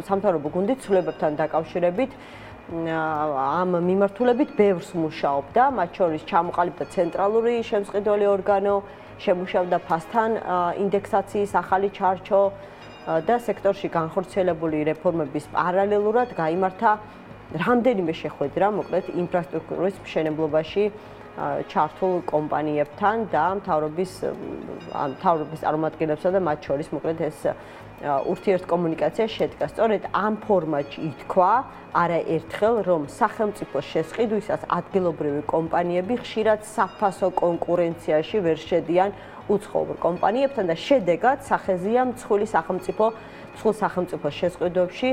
სამთავრობო გუნდით ცვლილებებთან დაკავშირებით ამ მიმართულებით ბევრს მუშაობდა, მათ შორის ჩამოყალიბდა ცენტრალური შემსყიდველი ორგანო, შემუშავდა ფასთან ინდექსაციის ახალი ჩარჩო და სექტორში განხორციელებული რეფორმების პარალელურად გაიმართა რამდენიმე შეხვედრა, მოკლედ ინფრასტრუქტურის მშენებლობაში ჩართულ კომპანიებთან და მთავრობის წარმომადგენლებსა და მათ შორის მოკლედ ეს ურთიერთკომუნიკაცია შედგა. სწორედ ამ ფორმატში ითქვა არაერთხელ, რომ სახელმწიფოს შესყიდვისას ადგილობრივი კომპანიები ხშირად საფასო კონკურენციაში ვერ შედიან უცხოურ კომპანიებთან და შედეგად სახეზია მსხვილი სახელმწიფოს შესყიდვებში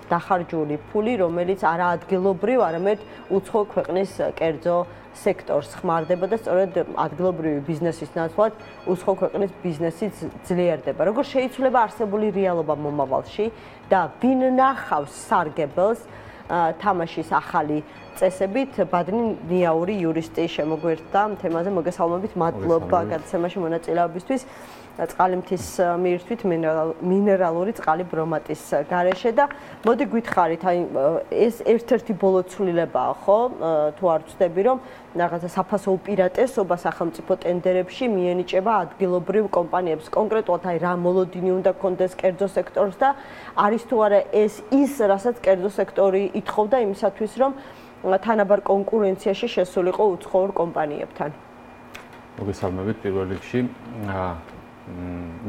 დახარჯული ფული, რომელიც არა ადგილობრივ, არამედ უცხო ქვეყნის კერძო სექტორს ხმარდება და სწორედ ადგილობრივი ბიზნესის ნაცვლად უცხო ქვეყნის ბიზნესიც ძლიერდება. როგორ შეიცვლება არსებული რეალობა მომავალში და ვინ ნახავს სარგებელს თამაშის ახალი წესებით, ბადნი ნიაური იურისტი შემოგვერთა თემაზე მოგესალმებით, მადლობა გადაცემაში მონაწილეობისთვის. წყალმთის მიირთვით მინერალური წყალი ბრომატის გარეშე და მოდი გითხარით, აი ეს ერთ-ერთი ბოლო ცვლილებაა, ხო? თუ არ ვცდები, რომ რაღაცა საფასო უპირატესობა სახელმწიფო ტენდერებში მიენიჭება ადგილობრივ კომპანიებს. კონკრეტულად აი რა მოლოდინი უნდა გქონდეს კერძო სექტორს და არის თუ არა ეს ის, რასაც კერძო სექტორი ითხოვდა იმისათვის, რომ თანაბარ კონკურენციაში შესულიყო უცხოურ კომპანიებთან. მოგესალმებით პირველ რიგში.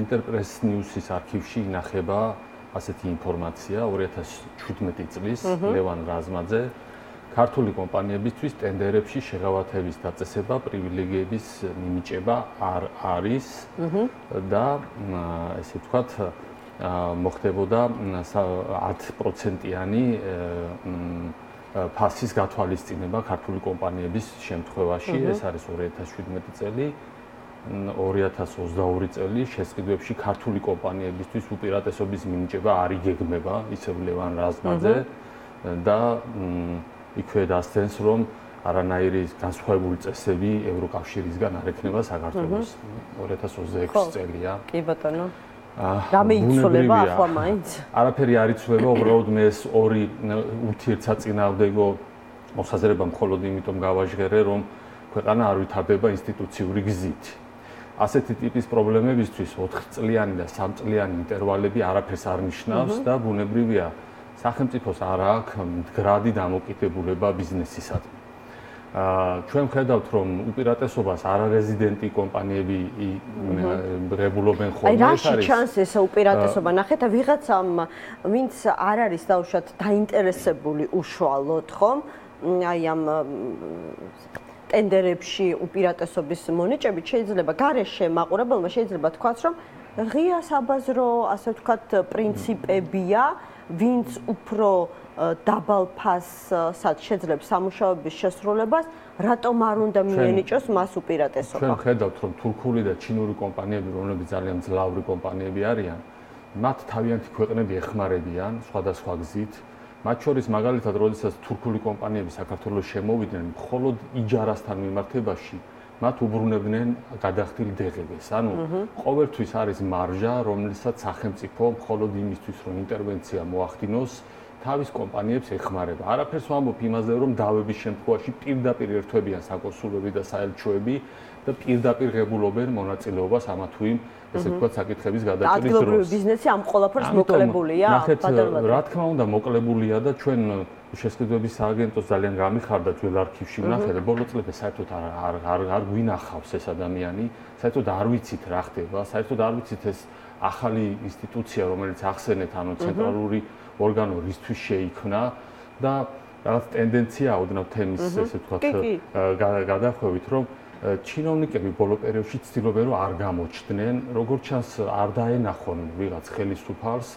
ინტერპრეს ნიუსის არქივში ინახება ასეთი ინფორმაცია 2017 წლის ლევან რაზმაძე ქართული კომპანიებისთვის ტენდერებში შეღავათების დაწესება, პრივილეგიების მინიჭება არ არის და ესე ვთქვათ მოხდებოდა 10%-იანი ფასის გათვალისწინება ქართული კომპანიების შემთხვევაში, ეს არის 2017 წელი. 2022 წელი შესყიდვებში ქართული კომპანიებისთვის უპირატესობის მინიჭება არ იგეგმება, ისევ ლევან რაზმაძე და იქვე დასცენს, რომ არანაირი განსხვავებული წესები ევროკავშირისგან არ ექნება საქართველოს. 2026 წელია. კი ბატონო. რამე იცვლება ახლა მაინც? არაფერი არ იცვლება, უბრალოდ მე ეს ორი ურთიერთსაწინააღმდეგო მოსაზრება მხოლოდ იმიტომ გავაჟღერე, რომ ქვეყანა არ ვითარდება ინსტიტუციური გზით. ასეთი ტიპის პრობლემებისთვის 4 წლიანი და 3 წლიანი ინტერვალები არაფერს არ ნიშნავს და ბუნებრივია სახელმწიფოს არ აქვს მდგრადი დამოკიდებულება ბიზნესისადმი. ჩვენ ხედავთ, რომ უპირატესობას არარეზიდენტი კომპანიები რეგულობენ ხოლმე. აი რაში ჩანს ეს უპირატესობა? ნახეთ, ვიღაცამ ვინც არ არის დაუშვათ დაინტერესებული უშუალოდ, ხომ? აი ამ ტენდერებში უპირატესობის მონიჭებით შეიძლება გარეშე მაყურებელმა შეიძლება თქვას, რომ ღია საბაზრო, ასე ვთქვათ, პრინციპებია, ვინც უფრო დაბალ ფასად შეძლებს სამუშაოების შესრულებას, რატომ არ უნდა მიენიჭოს მას უპირატესობა? ჩვენ ხედავთ, რომ თურქული და ჩინური კომპანიები, რომლებიც ძალიან ძლავრი კომპანიები არიან, მათ თავიანთი ქვეყნები ეხმარებიან სხვადასხვა გზით. მათ შორის მაგალითად, როდესაც თურქული კომპანიები საქართველოს შემოვიდნენ, მხოლოდ იჯარასთან მიმართებაში მათ უბრუნებდნენ გადახდილ დեղებას. ანუ ყოველთვის არის მარჟა, რომელსაც სახელმწიფო მხოლოდ იმისთვის, რომ ინტერვენცია მოახდინოს, თავის კომპანიებს ეხმარება. არაფერს ვამბობ იმაზე, რომ დავების შემთხვევაში პირდაპირ ერთვებიან საკონსულები და საელჩოები და პირდაპირ ღებულობენ მონაწილეობას ამა თუ იმ ესე ვთქვათ საკითხების გადაჭრის დროს. ადგილობრივი ბიზნესი ამ ყველაფერს მოკლებულია? ნახეთ, რა თქმა უნდა მოკლებულია და ჩვენ შესყიდვების სააგენტოს ძალიან გამიხარდა ძველ არქივში ვნახეთ, ბოლო წლებში საერთოდ არ გვინახავს ეს ადამიანი, საერთოდ არ ვიცით რა ხდება, საერთოდ არ ვიცით ეს ახალი ინსტიტუცია, რომელიც ახსენეთ, ანუ ცენტრალური ორგანო რისთვის შეიქმნა და რაღაც ტენდენცია ოდნავ თემის ესე ვთქვათ გადახვევით, რომ ჩინოვნიკები ბოლო პერიოდში ცდილობენ რომ არ გამოჩდნენ, როგორც ჩანს არ დაენახონ ვიღაც ხელისუფალს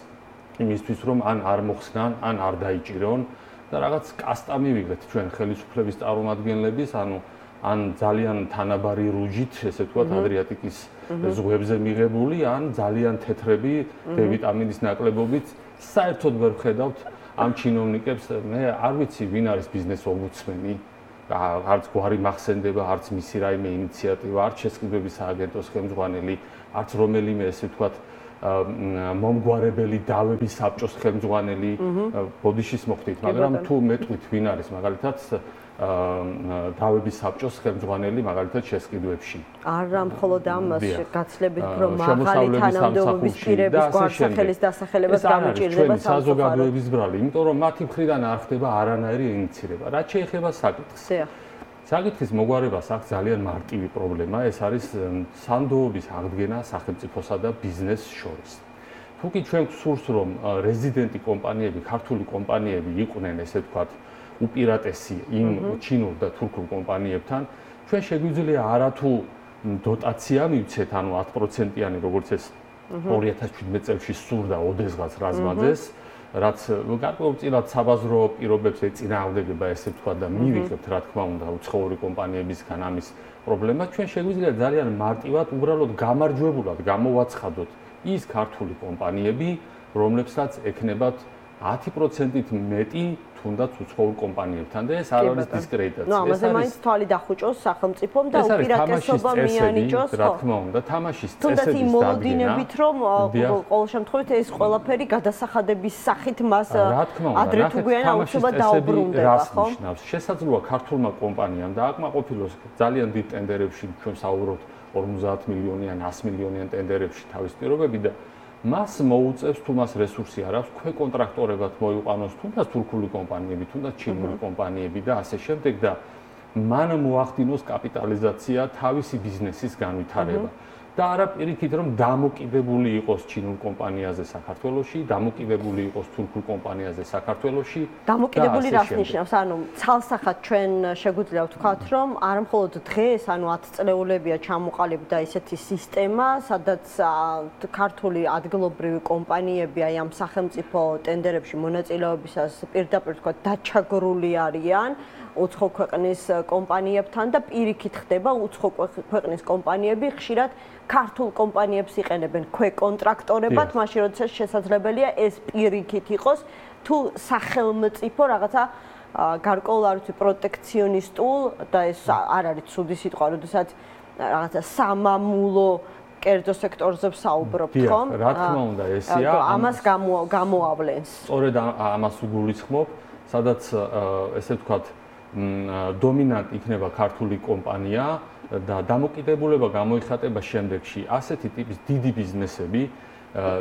იმისთვის რომ ან არ მოხსნან, ან არ დაიჭირონ და რაღაც კასტა მივიღეთ ჩვენ ხელისუფლების წარმომადგენლების, ანუ ან ძალიან თანაბარი რუჯით, ესე ვთქვათ, ადრიატიკის ზღვებზე მიღებული, ან ძალიან თეთრები D ვიტამინის ნაკლებობით, საერთოდ ვერ ხედავთ ამ ჩინოვნიკებს, მე არ ვიცი ვინ არის ბიზნეს ომბუდსმენი. არც გვარი მახსენდება, არც მისი რაიმე ინიციატივა, არც შესყიდვების სააგენტოს ხელმძღვანელი, არც რომელიმე ესე ვთქვათ მომგვარებელი დავების საბჭოს ხელმძღვანელი ბოდიშის მოხდით, მაგრამ თუ მეტყვით ვინ არის მაგალითად დავების საბჭოს ხელმძღვანელი მაგალითად შესყიდვებში. არა მხოლოდ ამას გაცლებით რომ მაღალი თანამდებობის პირების გვარსახელის დასახელებას გამიჭირდება საზოგადოების ბრალი, იმიტომ რომ მათი მხრიდან არ ხდება არანაირი ინიციირება. რაც შეეხება საკითხს. საკითხის მოგვარებას აქვს ძალიან მარტივი პრობლემა, ეს არის სანდოობის აღდგენა სახელმწიფოსა და ბიზნესს შორის. თუ კი ჩვენ გსურს რომ რეზიდენტი კომპანიები, ქართული კომპანიები იყვნენ, ესე ვთქვათ, უპირატესი იმ ჩინურ და თურქულ კომპანიებთან, ჩვენ შეგვიძლია არათუ დოტაცია მივცეთ, ანუ 10%-იანი, როგორც ეს 2017 წელს სურდა ოდესღაც რაზმაძეს, რაც გარკვეულწილად საბაზრო პირობებს ეწინააღმდეგება, ესე ვთქვათ და მივიღებთ, რა თქმა უნდა, უცხოური კომპანიებისგან ამის პრობლემა, ჩვენ შეგვიძლია ძალიან მარტივად, უბრალოდ გამარჯვებულად გამოვაცხადოთ ის ქართული კომპანიები, რომლებსაც ექნებათ 10%-ით მეტი თუნდაც უცხოურ კომპანიებთან და ეს არ არის დისკრედიტაცია. ნუ ამაზე მაინც თვალი დახუჭოს სახელმწიფომ და უპირატესობა მიანიჭოს, რა თქმა უნდა, თამაშის წესების თუნდაც იმ მოლოდინებით, რომ ყოველ შემთხვევით ეს ყველაფერი გადასახადების სახით მას ადრე თუ გვიან აუცილებლად დაუბრუნდება, ხო? შესაძლოა ქართულმა კომპანიამ დააკმაყოფილოს ძალიან დიდ ტენდერებში, ჩვენ საუბრობთ 50 მილიონიან, 100 მილიონიან ტენდერებში თავის პირობები და მას მოუწევს თუ მას რესურსი არ აქვს, ქვეკონტრაქტორებად მოიყვანოს თუნდაც თურქული კომპანიები, თუნდაც ჩინური კომპანიები და ასე შემდეგ და მან მოახდინოს კაპიტალიზაცია თავისი ბიზნესის განვითარება. და არა პირიქით რომ დამოკიდებული იყოს ჩინურ კომპანიაზე საქართველოში, დამოკიდებული იყოს თურქულ კომპანიაზე საქართველოში. დამოკიდებული რას ნიშნავს? ანუ ცალსახად ჩვენ შეგვიძლია ვთქვათ, რომ არა მხოლოდ დღეს, ანუ 10 წლეულებია ჩამოყალიბდა ესეთი სისტემა, სადაც ქართული ადგილობრივი კომპანიები აი ამ სახელმწიფო ტენდერებში მონაწილეობისას პირდაპირ ვთქვათ დაჩაგრული არიან უცხო ქვეყნის კომპანიებთან და პირიქით ხდება უცხო ქვეყნის კომპანიები ხშირად ქართულ კომპანიებს იყენებენ ქვეკონტრაქტორებად, მაშინ როდესაც შესაძლებელია ეს პირიქით იყოს თუ სახელმწიფო რაღაცა გარკვეულ არ ვიცი პროტექციონისტულ და ეს არ არის ცუდი სიტყვა, როდესაც რაღაცა სამამულო კერძო სექტორზე ვსაუბრობთ, ხომ? რა თქმა უნდა, ესეა. ამას გამოავლენს. სწორედ ამას უგულისხმობ, სადაც ესე ვთქვათ დომინანტ იქნება ქართული კომპანია და დამოკიდებულება გამოიხატება შემდეგში. ასეთი ტიპის დიდი ბიზნესები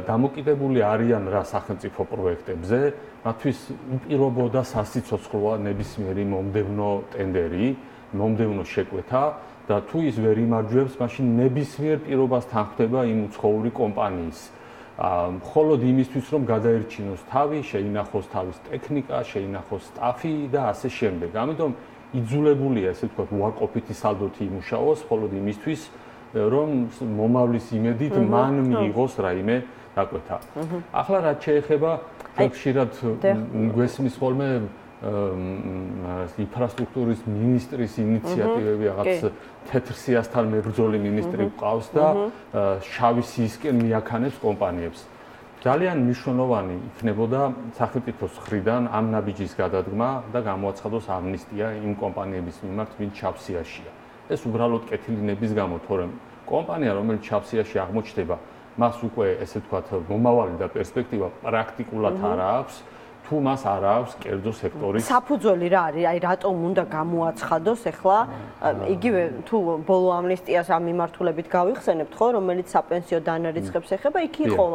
დამოკიდებული არიან რა სახელმწიფო პროექტებზე, მათთვის უპირობოდა სასიცოცხლოა ნებისმიერი მომდევნო ტენდერი, მომდევნო შეკვეთა და თუ ის ვერ იმარჯვებს, მაშინ ნებისმიერ პირობასთან ხდება იმ უცხოური კომპანიის. მხოლოდ იმისთვის, რომ გადაერჩინოს თავი, შეინახოს თავის ტექნიკა, შეინახოს სტაფი და ასე შემდეგ. ამიტომ იძულებულია, ესე ვთქვათ, უარყოფითი სალდოთი იმუშაოს, მხოლოდ იმისთვის, რომ მომავლის იმედით მან მიიღოს რაიმე დაკვეთა. ახლა რაც შეეხება ხშირად გვესმის ხოლმე ინფრასტრუქტურის მინისტრის ინიციატივები, რაღაც თეთრ სიასთან მებრძოლი მინისტრი გვყავს და შავი სიისკენ მიაქანებს კომპანიებს. ძალიან მნიშვნელოვანი იქნებოდა სახელმწიფოს მხრიდან ამ ნაბიჯის გადადგმა და გამოაცხადოს ამნისტია იმ კომპანიების მიმართ, ვინც ჩავსიაშია. ეს უბრალოდ კეთილინების გამო, თორემ კომპანია, რომელიც ჩავსიაში აღმოჩნდება, მას უკვე ესე ვთქვათ, მომავალი და პერსპექტივა პრაქტიკულად არ აქვს. თუ მას არ აქვს კერძო სექტორის საფუძველი რა არის? აი რატომ უნდა გამოაცხადოს ახლა იგივე თუ ბოლო ამნისტიას ამ მიმართულებით გავიხსენებთ ხო, რომელიც საპენსიო დანარიცხებს ეხება, იქ იყო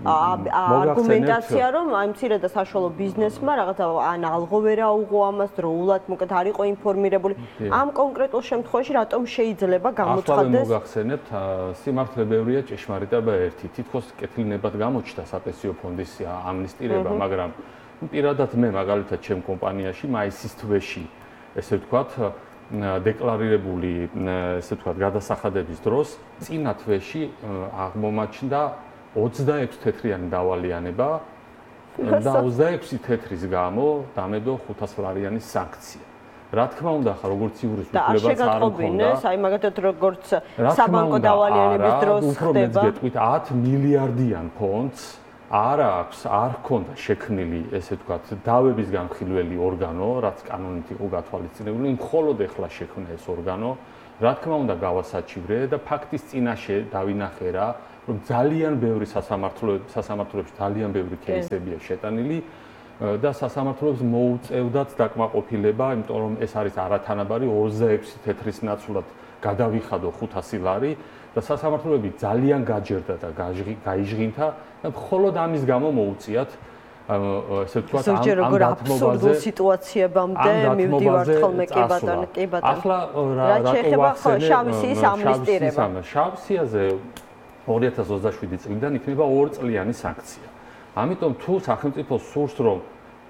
არგუმენტაცია, რომ აი მცირე და საშუალო ბიზნესმა რაღაცა ან ალღო ვერ აუღო ამას დროულად, მოკლედ არ იყო ინფორმირებული. ამ კონკრეტულ შემთხვევაში რატომ შეიძლება გამოცხადდეს? მოგახსენებთ, სიმართლე ბევრია, ჭეშმარიტება ერთი. თითქოს კეთილინებად გამოჩნდა საპენსიო ფონდის ამნისტირება, მაგრამ პირადად მე მაგალითად ჩემ კომპანიაში მაისის თვეში ესე ვთქვათ დეკლარირებული ესე ვთქვათ გადასახადების დროს წინა თვეში აღმომაჩნდა 26 თეთრიანი დავალიანება და 26 თეთრის გამო დამედო 500 ლარიანის სანქცია. რა თქმა უნდა, ხა როგორც იურის უფლებაც არ მქონდა. აი მაგათად როგორც საბანკო დავალიანების დროს ხდება. უფრო მეც გეტყვით 10 მილიარდიან ფონდს არ აქვს, არ ჰქონდა შექმნილი, ესე ვთქვათ, დავების განხილველი ორგანო, რაც კანონით იყო გათვალისწინებული, მხოლოდ ეხლა შექმნა ეს ორგანო. რა თქმა უნდა, გავასაჩივრე და ფაქტის წინაშე დავინახე რა, რომ ძალიან ბევრი სასამართლოებში ძალიან ბევრი кейსებია შეტანილი და სასამართლოებს მოუწევდათ დაკმაყოფილება, იმიტომ რომ ეს არის არათანაბარი 26 თეთრის ნაცვლად გადავიხადო 500 ლარი და სასამართლოები ძალიან გაჯერდა და გაიჟღინთა და მხოლოდ ამის გამო მოუწიათ ესე ვთქვათ ამ აბსურდულ სიტუაციებამდე მივდივართ ხოლმე კი ბატონო. ახლა რა შეიძლება შავი სიის ამნისტირება. შავ სიაზე 2027 წლიდან იქნება 2 წლიანი სანქცია. ამიტომ თუ სახელმწიფო სურს რომ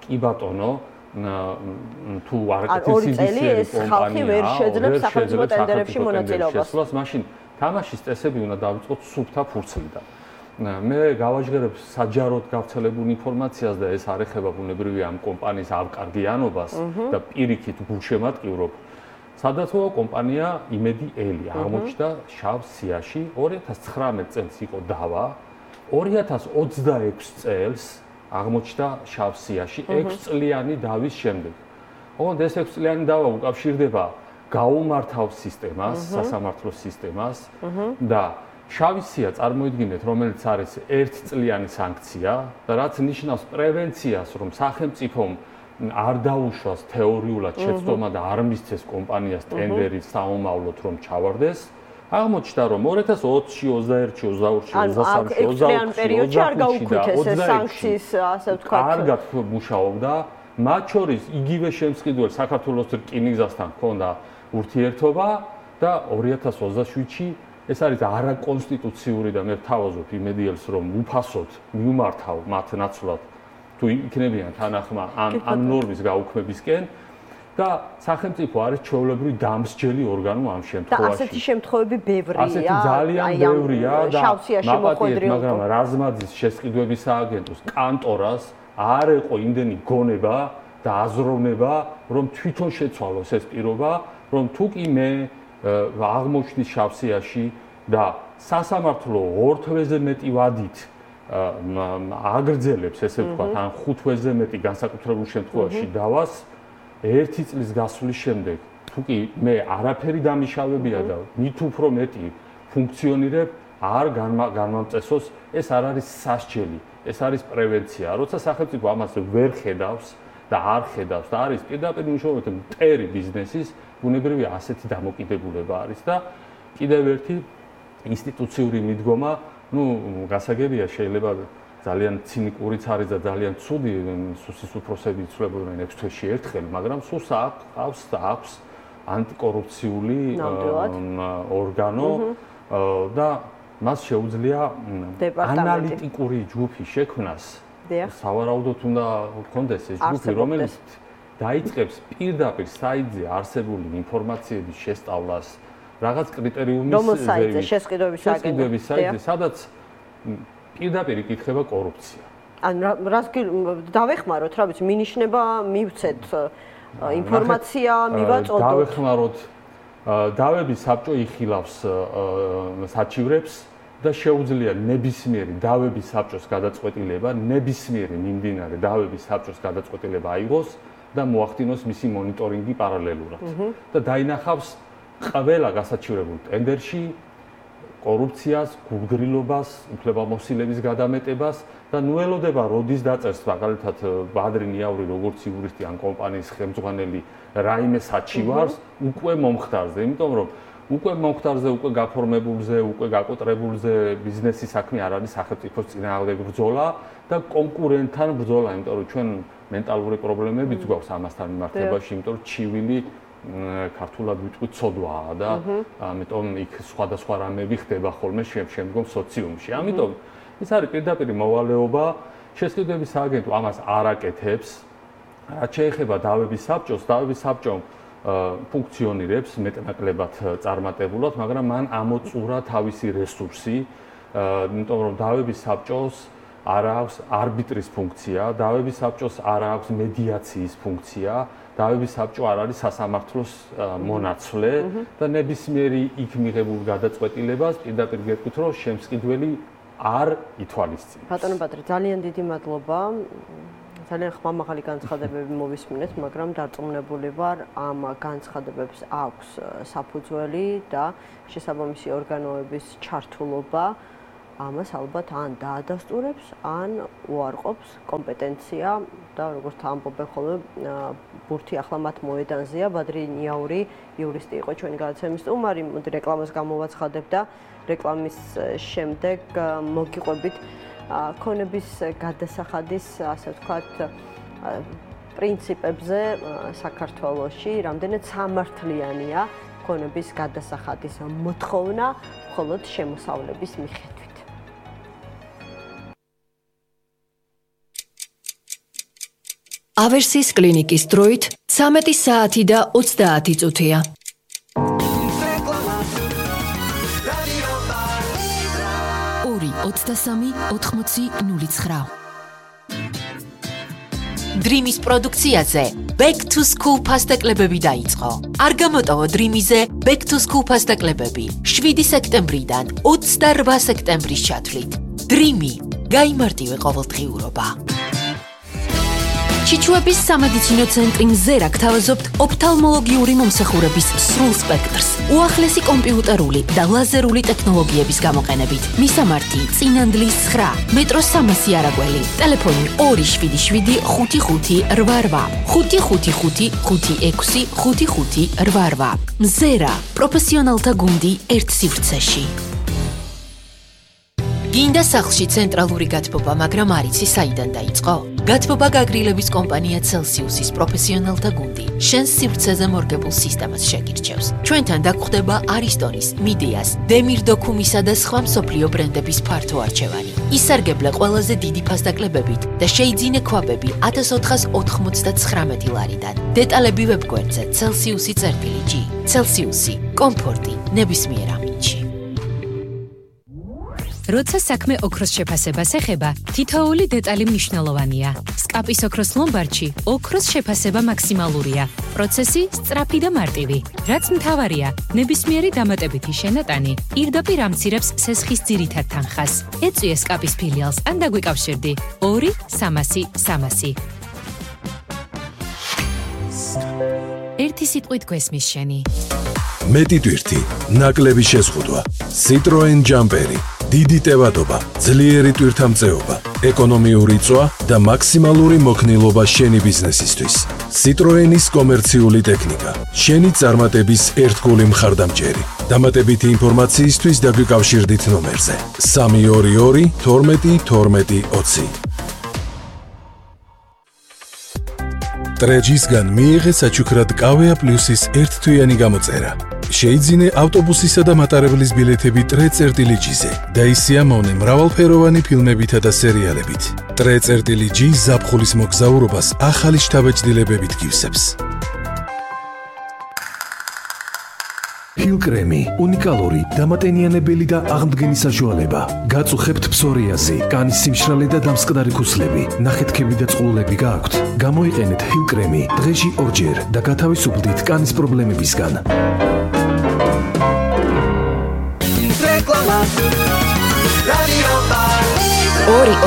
კი ბატონო თუ არაკეთილ სიდისიერი კომპანია ვერ შეძლებს სახელმწიფო ტენდერებში მონაწილეობას, მაშინ თამაშის წესები უნდა დავიწყოთ სუფთა ფურცლიდან. მე გავაჟღერებ საჯაროდ გავრცელებულ ინფორმაციას და ეს არ ეხება ბუნებრივია ამ კომპანიის ავკარგიანობას და პირიქით გულშემატკივრობ. სადაცვო კომპანია იმედი ელი აღმოჩნდა შავ სიაში 2019 წელს იყო დავა 2026 წელს აღმოჩნდა შავ სიაში 6 წლიანი დავის შემდეგ. ოღონდ ეს 6 წლიანი დავა უკავშირდება გაუმართავ სისტემას, სასამართლო სისტემას და შავი სია წარმოიდგინეთ, რომელიც არის 1 წლიანი სანქცია და რაც ნიშნავს პრევენციას, რომ სახელმწიფომ არ დაუშვას თეორიულად შეცდომა და არ მისცეს კომპანიას ტენდერი საომავლოდ რომ ჩავარდეს. აღმოჩნდა რომ 2020-ში, 21-ში, 22-ში, 23-ში, 24-ში პერიოდში არ გაუქმეს ეს სანქციის, ასე ვთქვათ. კარგად მუშაობდა, მათ შორის იგივე შემსყიდველ საქართველოს რკინიგზასთან ჰქონდა ურთიერთობა და 2027-ში ეს არის არაკონსტიტუციური და მე ვთავაზობ იმედიელს რომ უფასოდ მიუმართავ მათ ნაცვლად თუ იქნებიან თანახმა ამ ნორმის გაუქმებისკენ და სახელმწიფო არის ჩვეულებრივი დამსჯელი ორგანო ამ შემთხვევაში. და ასეთი შემთხვევები ბევრია. ასეთი ძალიან ბევრია და მაპატიეთ, მაგრამ რაზმაძის შესყიდვების სააგენტოს კანტორას არ ეყო იმდენი გონება და აზროვნება, რომ თვითონ შეცვალოს ეს პირობა, რომ თუ კი მე აღმოჩნდი შავ სიაში და სასამართლო 2 თვეზე მეტი ვადით აგრძელებს ესე ვთქვათ ან 5 თვეზე მეტი განსაკუთრებულ შემთხვევაში დავას 1 წლის გასვლის შემდეგ თუ კი მე არაფერი დამიშავებია და მით უფრო მეტი ფუნქციონირებ არ განმამწესოს ეს არ არის სასჯელი ეს არის პრევენცია როცა სახელმწიფო ამას ვერ ხედავს და არ ხედავს და არის პირდაპირ მნიშვნელობით მტერი ბიზნესის ბუნებრივია ასეთი დამოკიდებულება არის და კიდევ ერთი ინსტიტუციური მიდგომა, გასაგებია შეიძლება ძალიან ცინიკურიც არის და ძალიან ცუდი სუსის უფროსები იცვლებოდნენ 6 თვეში ერთხელ, მაგრამ სუს აქვს ანტიკორუფციული ორგანო და მას შეუძლია ანალიტიკური ჯგუფი შექმნას. სავარაუდოდ უნდა გქონდეს ეს ჯგუფი, რომელიც დაიწყებს პირდაპირ საიტზე არსებული ინფორმაციების შესწავლას, რაღაც კრიტერიუმის შესყიდვების საიტზე, სადაც პირდაპირ იკითხება კორუფცია. ან რას დავეხმაროთ, რა ვიცი, მინიშნება მივცეთ ინფორმაცია, მივაწოდოთ. დავეხმაროთ, დავების საბჭო იხილავს საჩივრებს და შეუძლია ნებისმიერი დავების საბჭოს გადაწყვეტილება, ნებისმიერი მიმდინარე დავების საბჭოს გადაწყვეტილება აიღოს და მოახდინოს მისი მონიტორინგი პარალელურად. და დაინახავს ყველა გასაჩივრებულ ტენდერში კორუფციას, გულგრილობას, უფლებამოსილების გადამეტებას და ნუ ელოდება როდის დაწერს მაგალითად ბადრი ნიავრი როგორც იურისტი ან კომპანიის ხელმძღვანელი რაიმე საჩივარს უკვე მომხდარზე, იმიტომ რომ უკვე მომხდარზე, უკვე გაფორმებულზე, უკვე გაკოტრებულზე ბიზნესის საქმე არ არის სახელმწიფოს წინააღმდეგ ბრძოლა და კონკურენტთან ბრძოლა, იმიტომ რომ ჩვენ მენტალური პრობლემებიც გვაქვს ამასთან მიმართებაში, იმიტომ რომ ჩივილი ქართულად ვიტყვით ცოდვაა და ამიტომ იქ სხვადასხვა რამები ხდება ხოლმე შემდგომ სოციუმში. ამიტომ ეს არის პირდაპირ მოვალეობა, შესყიდვების სააგენტო ამას არ აკეთებს. რაც შეეხება დავების საბჭოს, დავების საბჭომ ფუნქციონირებს მეტნაკლებად წარმატებულად, მაგრამ მან ამოწურა თავისი რესურსი, იმიტომ რომ დავების საბჭოს არ აქვს არბიტრის ფუნქცია, დავების საბჭოს არ აქვს მედიაციის ფუნქცია, დავების საბჭო არ არის სასამართლოს მონაცვლე და ნებისმიერი იქ მიღებულ გადაწყვეტილებას პირდაპირ გეტყვით, რომ შემსყიდველი არ ითვალისწინებს. ბატონო ბადრი, ძალიან დიდი მადლობა. ძალიან ხმამაღალი განცხადებები მოვისმინეთ, მაგრამ დარწმუნებული ვარ, ამ განცხადებებს აქვს საფუძველი და შესაბამისი ორგანოების ჩართულობა ამას ალბათ ან დაადასტურებს, ან უარყოფს კომპეტენცია და როგორც ამბობენ ხოლმე ბურთი ახლა მათ მოედანზეა. ბადრი ნიაური იურისტი იყო ჩვენი გადაცემის სტუმარი, მოდი რეკლამას გამოვაცხადებ და რეკლამის შემდეგ მოგიყვებით ქონების გადასახადის, ასე ვთქვათ, პრინციპებზე საქართველოში, რამდენად სამართლიანია ქონების გადასახადის მოთხოვნა მხოლოდ შემოსავლების მიხედვით. ავერსის კლინიკის დროით 13 საათი და 30 წუთია. ორი 23 80 Dream-ის პროდუქციაზე Back to School ფასტაკლებები დაიწყო. არ გამოტოვო Dream-იზე Back to School ფასტაკლებები 7 სექტემბრიდან 28 სექტემბრის ჩათვლით. Dream-ი გაიმარტივე ყოველდღიურობა. ჩიჩუების სამედიცინო ცენტრი მზერა გთავაზობთ ოფთალმოლოგიური მომსახურების სრულ სპექტრს, უახლესი კომპიუტერული და ლაზერული ტექნოლოგიების გამოყენებით. მისამართი: წინანდლის 9, მეტროს 300 არაგველი, ტელეფონი 277 55 88, 555 56 55 88. მზერა, პროფესიონალთა გუნდი ერთ სივრცეში. გინდა სახლში ცენტრალური გათბობა, მაგრამ არ იცი საიდან დაიწყო? გათბობა გაგრილების კომპანია Celsius-ის პროფესიონალთა გუნდი შენს სივრცეზე მორგებულ სისტემას შეგირჩევს. ჩვენთან დაგხვდება Aristonis, Mideas, Demir Documisa და სხვა მსოფლიო ბრენდების ფართო არჩევანი. ისარგებლე ყველაზე დიდი ფასდაკლებებით და შეიძინე ქვაბები 1499 ლარიდან. დეტალები ვებგვერდზე Celsius.g. Celsius-ი, კომფორტი ნებისმიერ ამინდში. როცა საქმე ოქროს შეფასებას ეხება, თითოეული დეტალი მნიშვნელოვანია. სკაპის ოქროს ლომბარდში ოქროს შეფასება მაქსიმალურია. პროცესი სწრაფი და მარტივი. რაც მთავარია, ნებისმიერი დამატებითი შენატანი პირდაპირ ამცირებს სესხის ძირითად თანხას. ეწვიე სკაპის ფილიალს ან დაგვიკავშირდი 2 300 300. ერთი სიტყვით გვესმის შენი. მეტი ტვირთი, ნაკლები შეზღუდვა, Citroen Jumperi, დიდი ტევადობა, ძლიერი ტვირთამწეობა, ეკონომიური წვა და მაქსიმალური მოქნილობა შენი ბიზნესისთვის. Citroen-ის კომერციული ტექნიკა, შენი წარმატების ერთგული მხარდამჭერი. დამატებითი ინფორმაციისთვის დაგვიკავშირდით ნომერზე 322 12 12 20. ტრეჯისგან მიიღე საჩუქრად კავეა პლუსის ერთთვიანი გამოწერა. შეიძინე ავტობუსისა და მატარებლის ბილეთები ტრე.ჯ-ზე და ისიამოვნე მრავალფეროვანი ფილმებითა და სერიალებით. ტრე.ჯ ზაფხულის მოგზაურობას ახალი შთაბეჭდილებებით გივსებს. ჰილკრემი, უნიკალური, დამატენიანებელი და აღმდგენი საშუალება. გაწუხებთ ფსორიაზი, კანის სიმშრალე და დამსკდარი ქუსლები, ნახეთქები და წყლულები გააქვთ. გამოიყენეთ ჰილკრემი დღეში 2 ჯერ და გათავისუფლდით კანის პრობლემებისგან.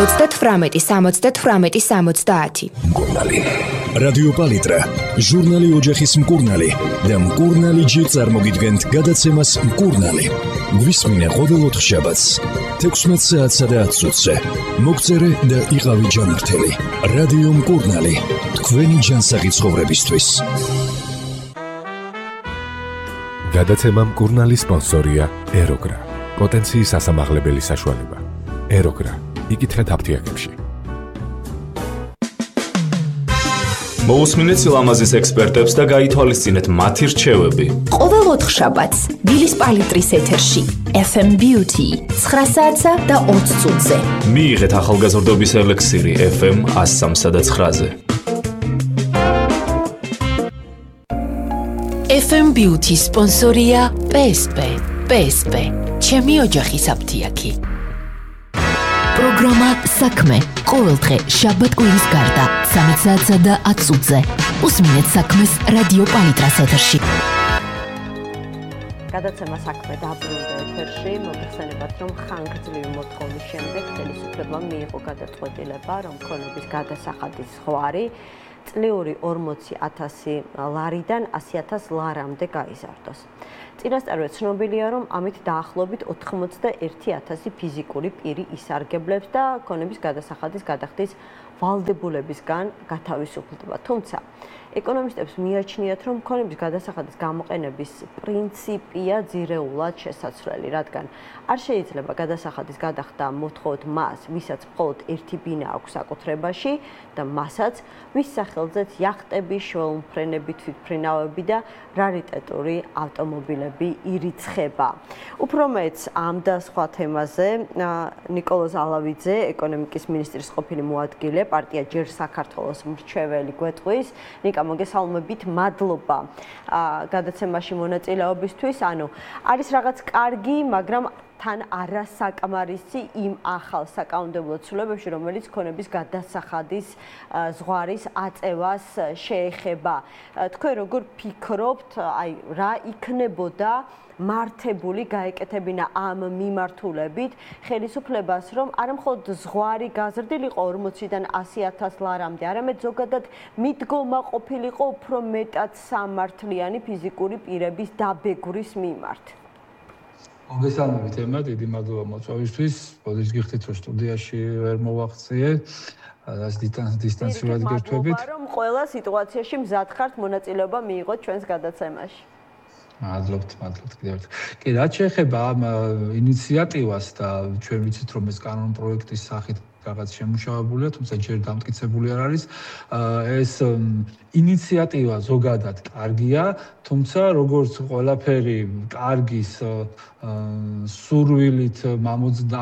2-38-70-70. მკურნალი. რადიო პალიტრა, ჟურნალი ოჯახის მკურნალი და მკურნალი ჯი წარმოგიდგენთ გადაცემას მკურნალი. გვისმინე ყოველ 4 შაბათს 16 საათსა და 10 წუთზე. მოგწერე და იყავი ჯანმრთელი. რადიო მკურნალი, თქვენი ჯანსაღი ცხოვრებისთვის. გადაცემა მკურნალი სპონსორია ეროგრა. პოტენციის ასამაღლებელი საშუალება. ეროგრა. იკითხეთ აფთიაქებში. მოусმინეთ სილამაზის ექსპერტებს და გაითვალისწინეთ მათი რჩევები. ყოველ 4 შაბათს დილის პალიტრის ეთერში FM Beauty 9 საათსა და 20 წუთზე. მიიღეთ ახალგაზრდობის ელექსირი FM 103 და 9-ზე. FM Beauty სპონსორია PSP. PSP. ჩემი ოჯახის აფთიაქი. პროგრამა საქმე ყოველდღე შაბათ-კვირის გარდა 13 საათსა და 10 წუთზე. უსმინეთ საქმეს რადიო პალიტრას ეთერში. გადაცემა საქმე დაბრუნდა ეთერში. მოგეხსენებათ, რომ ხანგრძლივი მოთხოვნის შემდეგ ხელისუფლებამ მიიღო გადაწყვეტილება, რომ ქონების გადასახადის ზღვარი წლიური 40,000 ლარიდან 100,000 ლარამდე გაიზარდოს. წინასწარვე ცნობილია, რომ ამით დაახლოებით 91,000 ფიზიკური პირი ისარგებლებს და ქონების გადასახადის გადახდის ვალდებულებისგან გათავისუფლდება. თუმცა ეკონომისტებს მიაჩნიათ, რომ ქონების გადასახადის გამოყენების პრინციპია ძირეულად შესაძლებელი, რადგან არ შეიძლება გადასახადის გადახდა მოთხოვოთ მას, ვისაც მხოლოდ ერთი ბინა აქვს საკუთრებაში და მასაც, ვის სახელზეც იახტები, შველმფრენები, თვითმფრინავები და რარიტეტული ავტომობილები ირიცხება. უფრო მეც ამ და სხვა თემაზე ნიკოლოზ ალავიძე, ეკონომიკის მინისტრის ყოფილი მოადგილე, პარტია ჯერ საქართველოს მრჩეველი გვეტყვის. ნიკა, მოგესალმებით, მადლობა გადაცემაში მონაწილეობისთვის. ანუ არის რაღაც კარგი, მაგრამ თან არასაკმარისი იმ ახალ საკანონმდებლო ცვლილებებში, რომელიც ქონების გადასახადის ზღვარის აწევას შეეხება. თქვენ როგორ ფიქრობთ, აი რა იქნებოდა მართებული გაეკეთებინა ამ მიმართულებით ხელისუფლებას, რომ არა მხოლოდ ზღვარი გაზრდილიყო 40-დან 100,000 ლარამდე, არამედ ზოგადად მიდგომა ყოფილიყო უფრო მეტად სამართლიანი ფიზიკური პირების დაბეგვრის მიმართ. მოგესალმებით ემა, დიდი მადლობა მოწვევისთვის. მოდით გიხდით, რომ სტუდიაში ვერ მოვახციე. ასე დისტანციურად გერთვებით. რომ ყველა სიტუაციაში მზად ხართ მონაწილეობა მიიღოთ ჩვენს გადაცემაში. მადლობთ კიდევ ერთხელ. კი, რაც შეეხება ამ ინიციატივას და ჩვენ ვიცით, რომ ეს კანონპროექტის სახით რაღაც შემუშავებულია, თუმცა ჯერ დამტკიცებული არ არის. ეს ინიციატივა ზოგადად კარგია, თუმცა როგორც ყველაფერი კარგის სურვილით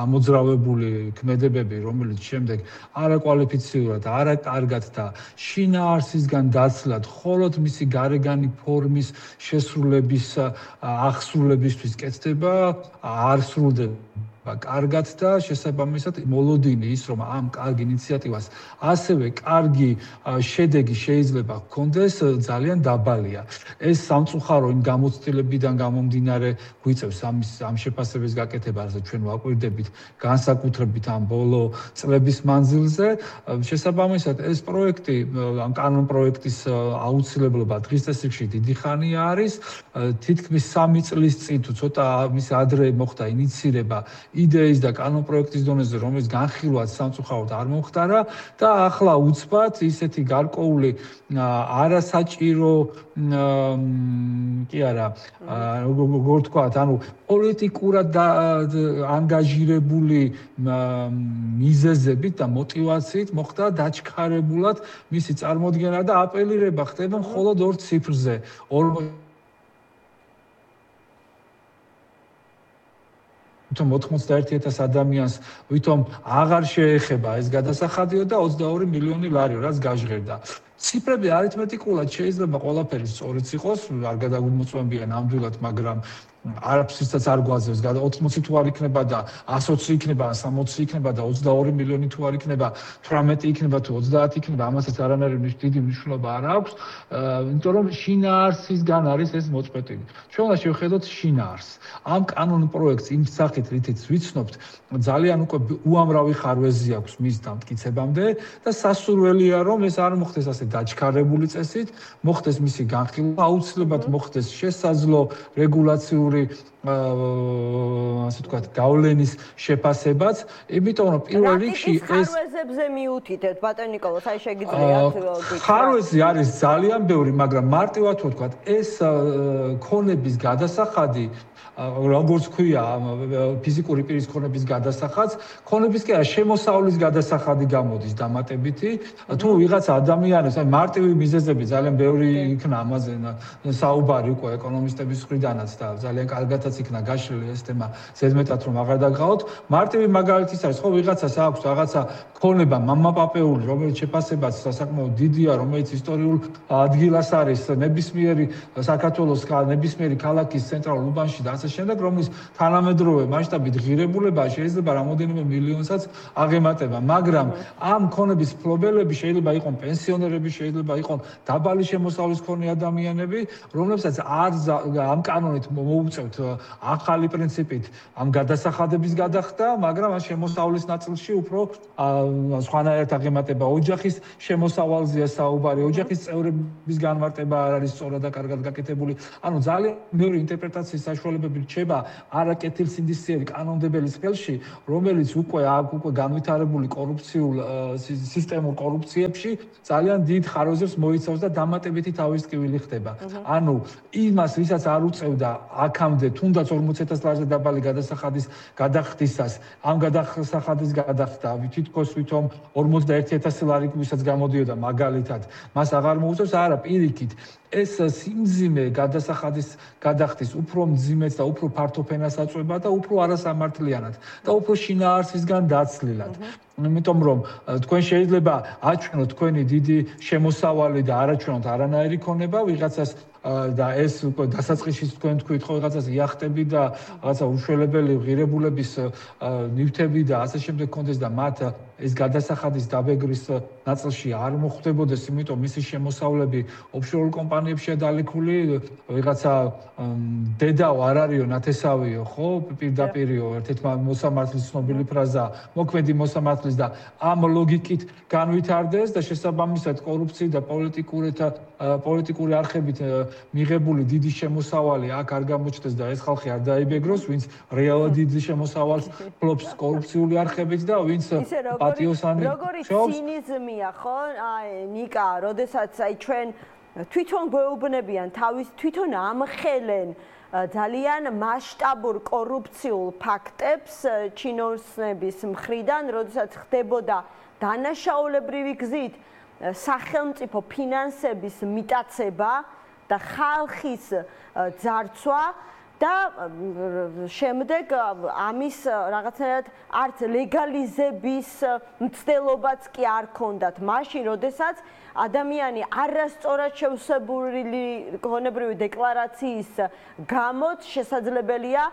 ამოძრავებული ქმედებები, რომელიც შემდეგ არაკვალიფიციურად, არაკარგად და შინაარსისგან დაცლად, მხოლოდ მისი გარეგანი ფორმის შესრულების აღსრულებისთვის კეთდება, არ სრულდება კარგად და შესაბამისად მოლოდინი ის, რომ ამ კარგ ინიციატივას ასევე კარგი შედეგი შეიძლება ჰქონდეს, ძალიან დაბალია. ეს სამწუხარო იმ გამოცდილებიდან გამომდინარე გვიწევს ამ შეფასების გაკეთება, რასაც ჩვენ ვაკვირდებით განსაკუთრებით ამ ბოლო წლების მანძილზე. შესაბამისად ეს პროექტი, ამ კანონპროექტის აუცილებლობა დღის წესრიგში დიდი ხანია არის. თითქმის 3 წლის წინ თუ ცოტა მის ადრე მოხდა ინიცირება იდეის და კანონპროექტის დონეზე, რომელიც განხილვად სამწუხაროდ არ მომხდარა და ახლა უცბად ისეთი გარკვეული არასაჭირო კი არა, როგორ ვთქვათ, ანუ პოლიტიკურად ანგაჟირებული მიზეზებით და мотивაციით მოხდა დაჩქარებულად მისი წარმოდგენა და აპელირება ხდება მხოლოდ 2 ციფრზე. თუმცა 91,000 ადამიანს ვითომ აღარ შეეხება ეს გადასახადიო და 22 მილიონი ლარიო, რაც გაჟღერდა. ციფრები არითმეტიკულად შეიძლება ყველაფერი სწორიც იყოს, არ გადაგვიმოწმებია ნამდვილად, მაგრამ არაფრისაც არ გვაძლევს. 80 თუ არ იქნება და 120 იქნება, 60 იქნება და 22 მილიონი თუ არ იქნება, 18 იქნება თუ 30 იქნება, ამასაც არანაირი დიდი მნიშვნელობა არ აქვს, იმიტომ რომ შინაარსისგან არის ეს მოწყვეტილი. ჩვენ უნდა შევხედოთ შინაარსს. ამ კანონპროექტს იმ სახით, რითიც ვიცნობთ, ძალიან უკვე უამრავი ხარვეზი აქვს მის დამტკიცებამდე და სასურველია, რომ ეს არ მოხდეს ასე დაჩქარებული წესით, მოხდეს მისი განხილვა, აუცილებლად მოხდეს შესაძლო რეგულაციური ასე ვთქვათ, გავლენის შეფასებაც, იმიტომ რომ პირველ რიგში ეს ხარვეზებზე მიუთითებთ, ბატონ ნიკოლოზ, აი შეგიძლიათ გითხრათ. ხარვეზი არის ძალიან ბევრი, მაგრამ მარტივად ვთქვათ, ეს ქონების გადასახადი როგორც ქვია ფიზიკური პირის ქონების გადასახადს, ქონების კი არა შემოსავლის გადასახადი გამოდის დამატებითი, თუ ვიღაც ადამიანებს, აი მარტივი მიზეზები ძალიან ბევრი იქნა ამაზე საუბარი უკვე ეკონომისტების მხრიდანაც და ძალიან კარგადაც იქნა გაშლილი ეს თემა ზედმეტად რომ აღარ დაგღავთ. მარტივი მაგალითიც არის, ხო ვიღაცას აქვს რაღაცა ქონება მამაპაპეული, რომელიც შეფასებაც საკმაოდ დიდია, რომელიც ისტორიულ ადგილას არის ნებისმიერი საქართველოს ნებისმიერი ქალაქის ცენტრალურ უბანში და ასე შემდეგ, რომლის თანამედროვე მასშტაბით ღირებულება შეიძლება რამოდენიმე მილიონსაც აღემატება, მაგრამ ამ ქონების ფლობელები შეიძლება იყოს პენსიონერები, შეიძლება იყოს დაბალი შემოსავლის მქონე ადამიანები, რომლებსაც არ ამ კანონით მოუწევთ ახალი პრინციპით ამ გადასახადების გადახდა, მაგრამ ამ შემოსავლის ნაწილში უფრო სხვანაირად აღემატება ოჯახის შემოსავალზეა საუბარი, ოჯახის წევრების განმარტება არ არის სწორად და კარგად გაკეთებული. ანუ ძალიან მეორე ინტერპრეტაციის საშუალებები რჩება არა კეთილსინდისიერი კანონმდებელის ხელში, რომელიც უკვე განვითარებული კორუფციულ სისტემურ კორუფციებში ძალიან დიდ ხარვეზებს მოიცავს და დამატებითი თავის ტკივილი ხდება. ანუ იმას, ვისაც არ უწევდა აქამდე თუნდაც 40,000 ლარზე დაბალი გადასახადის გადახდისას, ამ გადასახადის გადახდა თითქოს ვითომ 41,000 ლარი, ვისაც გამოდიოდა მაგალითად, მას აღარ მოუწევს, არა, პირიქით. ეს სიმძიმე გადასახადის გადახდის უფრო მძიმეც და უფრო ფართო ფენას აწვება და უფრო არასამართლიანად და უფრო შინაარსისგან დაცლილად. იმიტომ რომ თქვენ შეიძლება აჩვენოთ თქვენი დიდი შემოსავალი და არაჩვენოთ არანაირი ქონება ვიღაცას და ეს უკვე დასაწყისში თქვენ თქვით ხო ვიღაცას იახტები და რაღაცა უშველებელი ღირებულების ნივთები და ასე შემდეგ კონდეს და მათ ეს გადასახადის დაბეგრის ნაწილში არ მოხვდებოდეს, იმიტომ მისი შემოსავლები ოფშორულ კომპანიებშია დალექული, ვიღაცა დედაო არ არისო, ნათესავიო, ხო, პირდაპირიო, ერთ-ერთი მოსამართლის ცნობილი ფრაზა, მოქმედი მოსამართლის და ამ ლოგიკით განვითარდეს და შესაბამისად კორუფცია და პოლიტიკური არხებით მიღებული დიდი შემოსავალი აქ არ გამოჩნდეს და ეს ხალხი არ დაიბეგროს, ვინც რეალად დიდი შემოსავალს ფლობს კორუფციული არხებით და ვინც პატიოსანი როგორი ცინიზმია, ხო? აი, ნიკა, როდესაც აი ჩვენ თვითონ გვეუბნებიან თავის თვითონ ამხელენ ძალიან მასშტაბურ კორუფციულ ფაქტებს ჩინოსნების მხრიდან, როდესაც ხდებოდა დანაშაულებრივი გზით სახელმწიფო ფინანსების მიტაცება და ხალხის ძარცვა და შემდეგ ამის რაღაცნაირად არც ლეგალიზების მცდელობაც კი არ ქონდათ. მაშინ, როდესაც ადამიანი არასწორად შევსებული გონებრივი დეკლარაციის გამო შესაძლებელია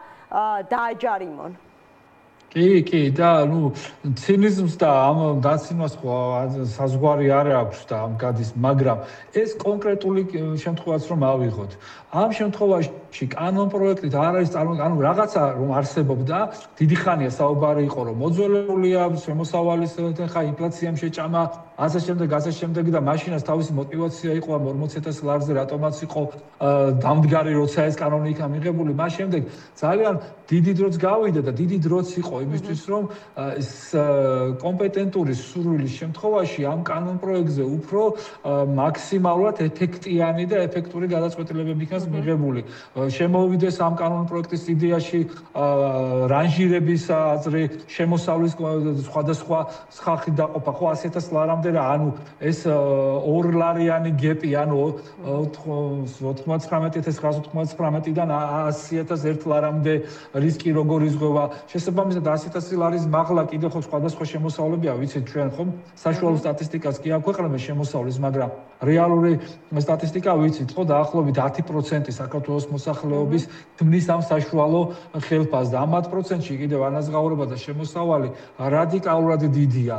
დააჯარიმონ. კი და ცინიზმს და ამ დაცინვას საზღვარი არ აქვს და ამ გადის, მაგრამ ეს კონკრეტული შემთხვევაც რომ ავიღოთ. ამ შემთხვევაში კანონპროექტით არ არის ანუ რაღაცა რომ არსებობდა, დიდი ხანია საუბარი იყო რომ მოძველებულია შემოსავალის ხა ინფლაციამ შეჭამა, ასე შემდეგ და მაშინაც თავისი мотиваცია იყო ამ 40,000 ლარზე რატომაც იყო დამდგარი, როცა ეს კანონი იქნა მიღებული, მას შემდეგ ძალიან დიდი დროც გავიდა და დიდი დროც იყო იმისთვის რომ ეს კომპეტენტური სურვილის შემთხვევაში ამ კანონპროექტზე უფრო მაქსიმალურად ეფექტიანი და ეფექტური გადაწყვეტილებები იქნას მიღებული. შემოვიდეს ამ კანონპროექტის იდეაში რანჟირების აზრი, შემოსავლის სხვადასხვა ხალხი დაყოფა, ხო 100,000 ლარამდე რა, ანუ ეს 2 ლარიანი გეპი, ანუ 99,199-დან 100,000 ლარამდე რისკი როგორ იზღვევა. შესაბამისად 100,000 ლარის მაღლა კიდევ ხო სხვადასხვა შემოსავლებია, ვიცით ჩვენ ხომ საშუალო სტატისტიკას კი აქვეყნებენ შემოსავლის, მაგრამ რეალური სტატისტიკა ვიცით ხო დაახლოებით 10% საქართველოს მოსახლეობის ქმნის ამ საშუალო ხელფასს და ამ 10%-ში კიდევ ანაზღაურება და შემოსავალი რადიკალურად დიდია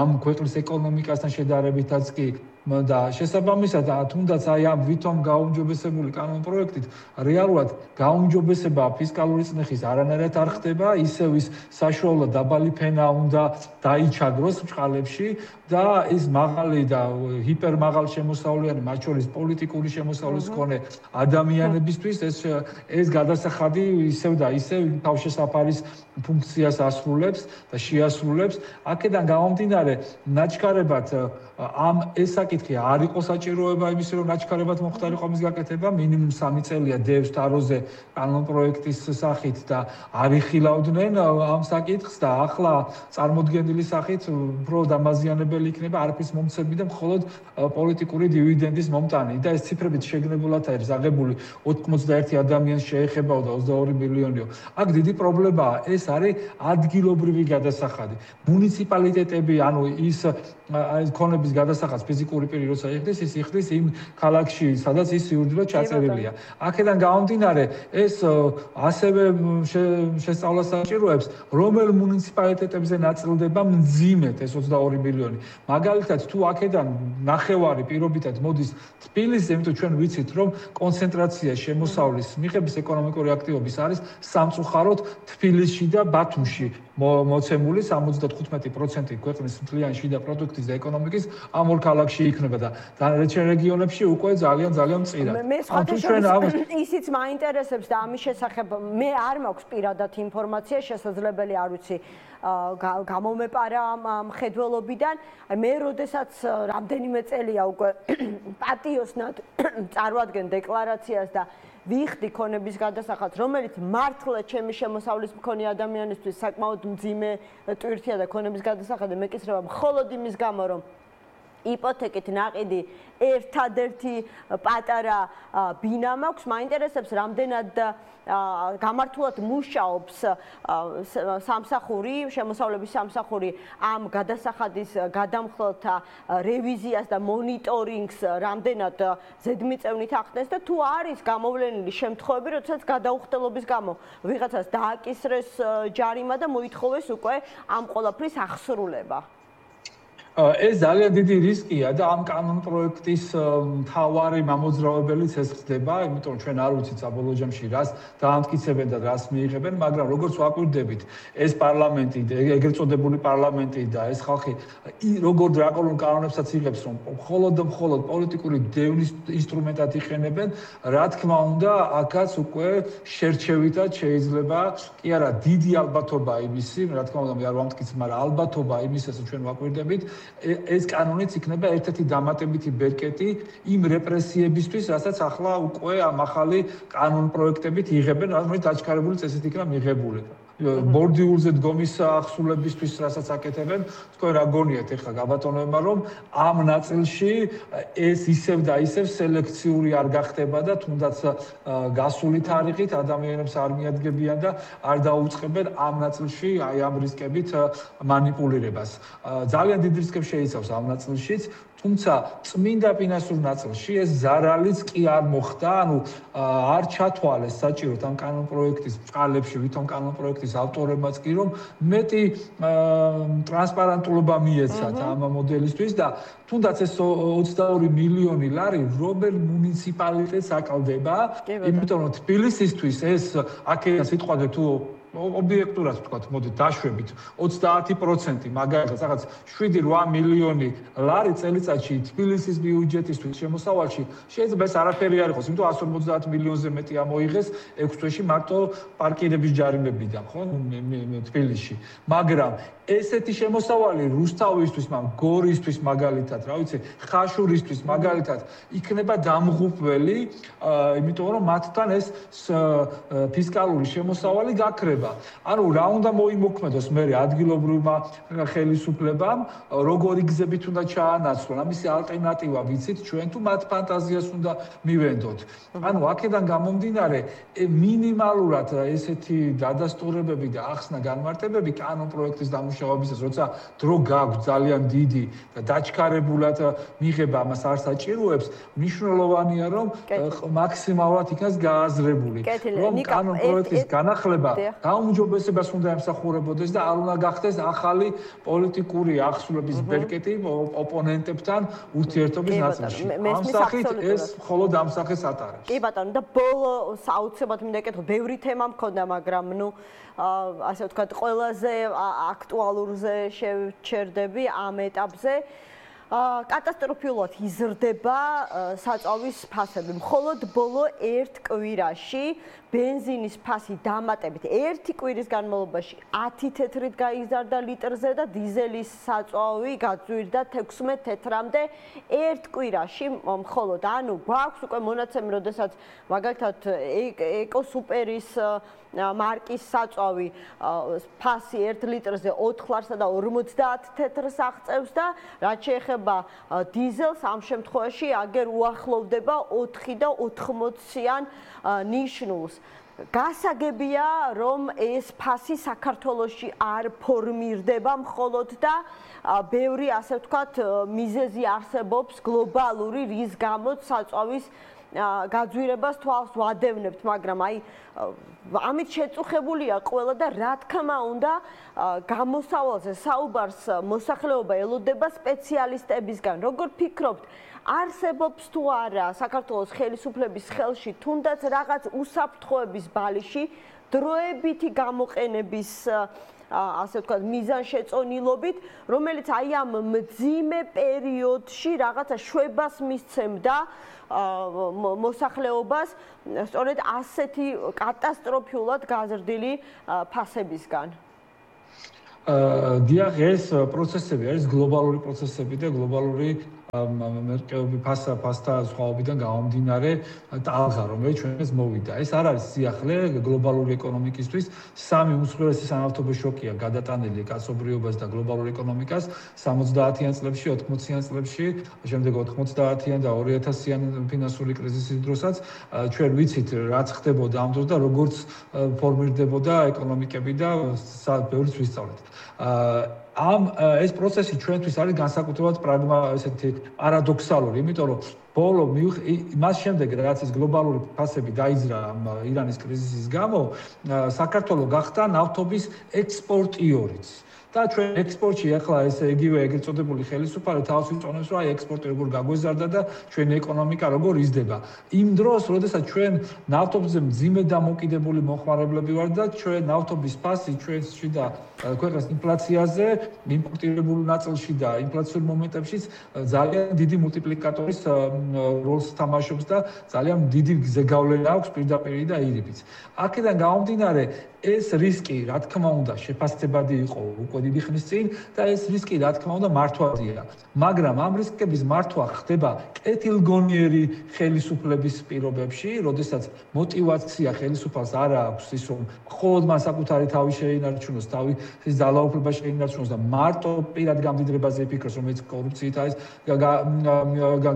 ამ ქვეყნის ეკონომიკასთან შედარებითაც კი და შესაბამისად თუნდაც აი ამ ვითომ გაუმჯობესებული კანონპროექტით რეალურად გაუმჯობესება ფისკალური წნეხის არანაირად არ ხდება, ისევ ის საშუალო დაბალი ფენა უნდა დაიჩაგროს ბჭყალებში და ის მაღალი და ჰიპერმაღალ შემოსავლიანი, მათ შორის პოლიტიკური შემოსავლის მქონე ადამიანებისთვის ეს გადასახადი ისევ და ისევ თავშესაფარის ფუნქციას ასრულებს და შეასრულებს. აქედან გამომდინარე, ნაჩქარებად ამ ეს საკითხი არ იყო საჭიროება იმისი, რომ ნაჩქარებად მოხდარიყო მის გაკეთება, მინიმუმ 3 წელია დევს თაროზე კანონპროექტის სახით და არ იხილავდნენ ამ საკითხს და ახლა წარმოდგენილი სახით უფრო დამაზიანებელი იქნება არაფრის მომცემი და მხოლოდ პოლიტიკური დივიდენდის მომტანი და ეს ციფრებით შეგნებულად არის აღებული 91 ადამიანს შეეხებაო და 22 მილიონიო. აქ დიდი პრობლემაა, ეს არის ადგილობრივი გადასახადი. მუნიციპალიტეტები, ანუ ის ქონების გადასახადს, ფიზიკური ფიზიკური პირი როცა იხდის, ის იხდის იმ ქალაქში, სადაც ის სიურძულე ჩაწერილია. აქედან გამომდინარე, ეს ასევე შესწავლას საჭიროებს, რომელ მუნიციპალიტეტებზე ნაწილდება მძიმედ ეს 22 მილიონი. მაგალითად, თუ აქედან ნახევარი პირობითად მოდის თბილისზე, იმიტომ ჩვენ ვიცით, რომ კონცენტრაცია შემოსავლის მიღების ეკონომიკური აქტივობის არის სამწუხაროდ თბილისში და ბათუმში მოცემული 75% ქვეყნის მთლიანი შიდა პროდუქტის და ეკონომიკის ამ ორ ქალაქში იქნება და დანარჩენ რეგიონებში უკვე ძალიან მწირად. მე სხვადასხვა ისიც მაინტერესებს და ამის შესახებ მე არ მაქვს პირადად ინფორმაცია, შესაძლებელი არ ვიცი გამომეპარა მხედველობიდან. მე როდესაც რამდენიმე წელია უკვე პატიოსნად წარვადგენ დეკლარაციას და ვიხდი ქონების გადასახადს, რომელიც მართლა ჩემი შემოსავლის მქონე ადამიანისთვის საკმაოდ მძიმე ტვირთია და ქონების გადასახადი მეკისრება მხოლოდ იმის გამო, რომ იპოთეკით ნაყიდი ერთადერთი პატარა ბინა მაქვს, მაინტერესებს რამდენად გამართულად მუშაობს სამსახური, შემოსავლების სამსახური ამ გადასახადის გადამხლელთა რევიზიას და მონიტორინგს რამდენად ზედმიწევნით ახდენს და თუ არის გამოვლენილი შემთხვევები, როდესაც გადაუხდელობის გამო ვიღაცას დააკისრეს ჯარიმა და მოითხოვეს უკვე ამ ყველაფრის აღსრულება. ეს ძალიან დიდი რისკია და ამ კანონ პროექტის მთავარი მამოძრავებელიც ეს ხდება, იმიტომ რომ ჩვენ არ ვიცით საბოლოო ჯამში რას დაამტკიცებენ და რას მიიღებენ, მაგრამ როგორც ვაკვირდებით, ეს პარლამენტი, ეგრეთ წოდებული პარლამენტი და ეს ხალხი როგორ დრაკონულ კანონებსაც იღებს, რომ მხოლოდ პოლიტიკური დევნის ინსტრუმენტად იყენებენ, რა თქმა უნდა, აქაც უკვე შერჩევითად შეიძლება, კი არა, დიდი ალბათობა იმისი, რა თქმა უნდა, მე არ ვამტკიცებ, მაგრამ ალბათობა იმის, ასე ჩვენ ვაკვირდებით, ეს კანონიც იქნება ერთ-ერთი დამატებითი ბერკეტი იმ რეპრესიებისთვის, რასაც ახლა უკვე ამ ახალი კანონ პროექტებით იღებენ, რომელიც დაჩქარებული წესით იქნება მიღებული. ბორდიულზე დგომის ახსულებისთვის, რასაც აკეთებენ, თქვენ რა გონიათ ეხლა გაბატონებმა, რომ ამ ნაწილში ეს ისევ და ისევ სელექციური არ გახდება და თუნდაც გასული თარიღით ადამიანებს არ მიადგებიან და არ დაუწყებენ ამ ნაწილში აი ამ რისკებით მანიპულირებას. ძალიან დიდ რისკებს შეიცავს ამ ნაწილშიც, თუმცა წმინდა ფინანსურ ნაწილში ეს ზარალიც კი არ მოხდა, ანუ არ ჩათვალეს საჭიროდ ამ კანონ პროექტის ბრძოლებში, ვითომ კანონ პროექტის ავტორებმაც კი რომ მეტი ტრანსპარენტულობა მიეცათ ამ მოდელისთვის და თუნდაც ეს 22 მილიონი ლარი რომელ მუნიციპალიტეტს აკლდება, იმიტომ რომ თბილისისთვის ეს აქედან სიტყვაზე თუ ობიექტურად ვთქვათ, მოდით დაშვებით 30% მაგალითად რაღაც 7-8 მილიონი ლარი წელიწადში თბილისის ბიუჯეტისთვის შემოსავალში შეიძლება ეს არაფერი არ იყოს, იმიტომ 150 მილიონზე მეტი ამოიღეს 6 თვეში მარტო პარკირების ჯარიმებიდან, ხო, თბილისში. მაგრამ ესეთი შემოსავალი რუსთავისთვის, გორისთვის მაგალითად, რა ვიცი, ხაშურისთვის მაგალითად იქნება დამღუპველი, იმიტომ რომ მათთან ეს ფისკალური შემოსავალი გაქრება. ანუ რა უნდა მოიმოქმედოს მე ადგილობრივმა ხელისუფლებამ, როგორი გზებით უნდა ჩაანაცვლონ, ამისი ალტერნატივა ვიცით ჩვენ თუ მათ ფანტაზიას უნდა მივენდოთ. ანუ აქედან გამომდინარე მინიმალურად ესეთი დადასტურებები და ახსნა განმარტებები კანონ პროექტის დამუშავებისას, როცა დრო გაქვს ძალიან დიდი და დაჩქარებულად მიღება ამას არ საჭიროებს, მნიშვნელოვანია რომ მაქსიმალურად იქნას გააზრებული, რომ კანონ პროექტის განახლება გაუმჯობესებას უნდა ემსახურებოდეს და არ უნდა გახდეს ახალი პოლიტიკური ახსულების ბერკეტი ოპონენტებთან ურთიერთობის ნაწილში. ამ სახით ეს მხოლოდ ამ სახეს ატარებს. კი ბატონო, და ბოლო საოცრად მინდა ეკითხო, ბევრი თემა მქონდა, მაგრამ ასე ვთქვათ, ყველაზე აქტუალურზე შევჩერდები ამ ეტაპზე. კატასტროფულად იზრდება საწავის ფასები. მხოლოდ ბოლო ერთ კვირაში ბენზინის ფასი დამატებით ერთი კვირის განმავლობაში 10 თეთრით გაიზარდა litrზე და დიზელის საწვავი გაძვირდა 16 თეთრამდე ერთ კვირაში მხოლოდ. ანუ გვაქვს უკვე მონაცემი, როდესაც მაგალითად ეკოსუპერის მარკის საწვავი ფასი 1 litrზე 4 ლარსა და 50 თეთრს აღწევს და რაც შეეხება დიზელს ამ შემთხვევაში აგერ უახლოვდება 4 და 80-იან ნიშნულს. გასაგებია, რომ ეს ფასი საქართველოში არ ფორმირდება მხოლოდ და ბევრი, ასე ვთქვათ, მიზეზი არსებობს გლობალური, რის გამოც საწვავის გაძვირებას თვალს ვადევნებთ, მაგრამ ამით შეწუხებულია ყველა და რა თქმა უნდა, გამოსავალზე საუბარს მოსახლეობა ელოდება სპეციალისტებისგან. როგორ ფიქრობთ, არსებობს თუ არა საქართველოს ხელისუფლების ხელში თუნდაც რაღაც უსაფრთხოების ბალიში დროებითი გამოყენების ასე ვთქვათ მიზანშეწონილობით, რომელიც ამ მძიმე პერიოდში რაღაცა შვებას მისცემდა მოსახლეობას სწორედ ასეთი კატასტროფიულად გაზრდილი ფასებისგან. დიახ, ეს პროცესები არის გლობალური პროცესები და გლობალური მერკეობი ფასთა სხვაობიდან გამომდინარე ტალღა, რომელიც ჩვენს მოვიდა. ეს არ არის სიახლე გლობალური ეკონომიკისთვის. სამი უმსხვილესი სანავთობო შოკია გადატანილი კაცობრიობას და გლობალურ ეკონომიკას 70-იან წლებში, 80-იან წლებში, შემდეგ 90-იან და 2000-იან ფინანსური კრიზისის დროსაც ჩვენ ვიცით რაც ხდებოდა ამ დროს და როგორც ფორმირდებოდა ეკონომიკები და ბევრიც ვისწავლეთ. ეს პროცესი ჩვენთვის არის განსაკუთრებულად ესეთი პარადოქსალური, იმიტომ რომ ბოლო მას შემდეგ რაც ეს გლობალური ფასები დაიძრა ირანის კრიზისის გამო, საქართველო გახდა ნავთობის ექსპორტიორიც. და ჩვენ ექსპორტში ახლა ესე იგივე ეგრეთ წოდებული ხელისუფალი თავს ვიწონებს, რომ ექსპორტი როგორ გაგვეზარდა და ჩვენი ეკონომიკა როგორ იზრდება. იმ დროს, როდესაც ჩვენ ნავთობზე მძიმე და მოკიდებული მოხმარებლები ვართ და ჩვენ ნავთობის ფასი ჩვენში და ქვეყნის ინფლაციაზე, იმპორტირებულ ნაწილში და ინფლაციურ მომენტებშიც ძალიან დიდი მულტიპლიკატორის როლს თამაშობს და ძალიან დიდი ზეგავლენა აქვს პირდაპირ და ირიბიც. აქედან გამომდინარე, ეს რისკი, რა თქმა უნდა, შეფასდებადი იყო უკვე დიდი ხნის წინ და ეს რისკი, რა თქმა უნდა, მართვადია. მაგრამ ამ რისკების მართვა ხდება კეთილგონიერი ხელისუფლების პირობებში, როდესაც мотиваცია ხელისუფალს არ აქვს ის, რომ მხოლოდ მან საკუთარი თავი შეინარჩუნოს, თავის ძალაუფლება შეინარჩუნოს და მარტო პირად გამდიდრებაზე იფიქროს, რომელიც კორუფციით არის